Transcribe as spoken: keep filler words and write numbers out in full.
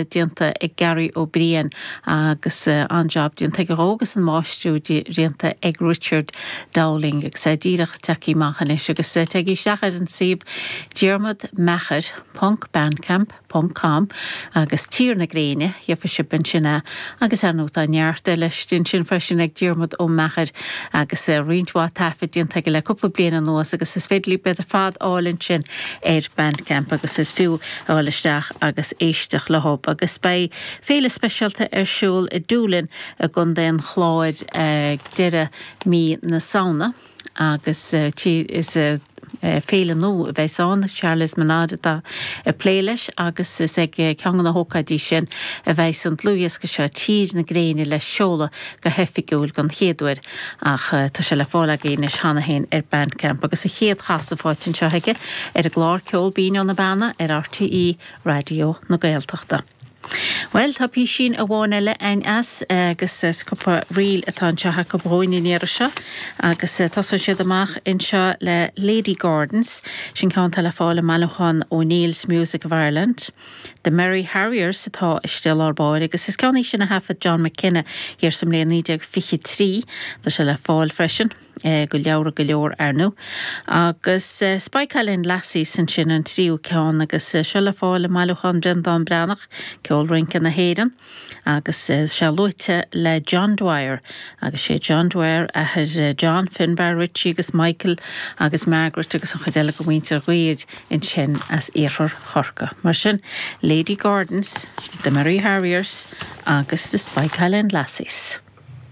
Déanta ag Gary Ó Briain agus an-jab déanta aige dhó agus an máistriú déanta ag Richard Dowling agus é díreach tagtha amach anois agus téigí isteach ar an suíomh Diarmuid Meachair ponc bandcamp ponc com agus Tír na Gréine gheobhaidh sibh ansin é agus ar ndóigh tá neart eile ansin freisin ag Diarmuid Ó Meachair agus roinnt mhaith taifead déanta aige le cúpla bliain anuas agus is féidir libh iad ar fad a fháil ansin ar Bandcamp agus is fiú a dhul isteach agus éisteacht leo agus beidh féile speisialta ar siúl i Doolin i gContae an Chláir ag deireadh mí na Samhna agus is féile nua a bheas ann, Charles Monade atá ag plé leis agus is ag ceann de na hócáidí sin a bheas an dlúthdhiosca seo Tír na Gréine le seoladh go hoifigiúil don chéad uair ach tá sé le fáil agaibh anois cheana féin ar Bandcamp agus a chéad chasadh faighte anseo aige ar an gclár Ceol Binn ó na Beanna ar RTÉ Raidió na Gaeltachta. Bhuel, tá písín amháin eile againn as agus is cúpla ríl atá anseo acu dhúinn an iarraidh seo agus tosaíonn siad amach anseo le Lady Gordons, sin ceann atá le fáil i mbailiúchán O'Neill's Music of Ireland. The Merry Harriers atá istigh i lár báire agus is ceann é sin a thaifead John McKenna thiar sa mbliain naoi déag fiche trí. Tá sé le fáil freisin. go leabhra go leor ar ndóigh. Agus Spike Island Lassies ansin an tríú ceann agus seo le fáil i mbailiúchán Bhreandán Breathnach, Ceol Rince na hÉireann, agus sé luaite le John Dwyer agus sé John Dwyer athair John, Finbar, Richie agus Michael agus Margaret agus an chuid eile de mhuintir Dwyer ansin as iarthar Chorcaí. Mar sin, Lady Gordons, The Merry Harriers agus The Spike Island Lassies.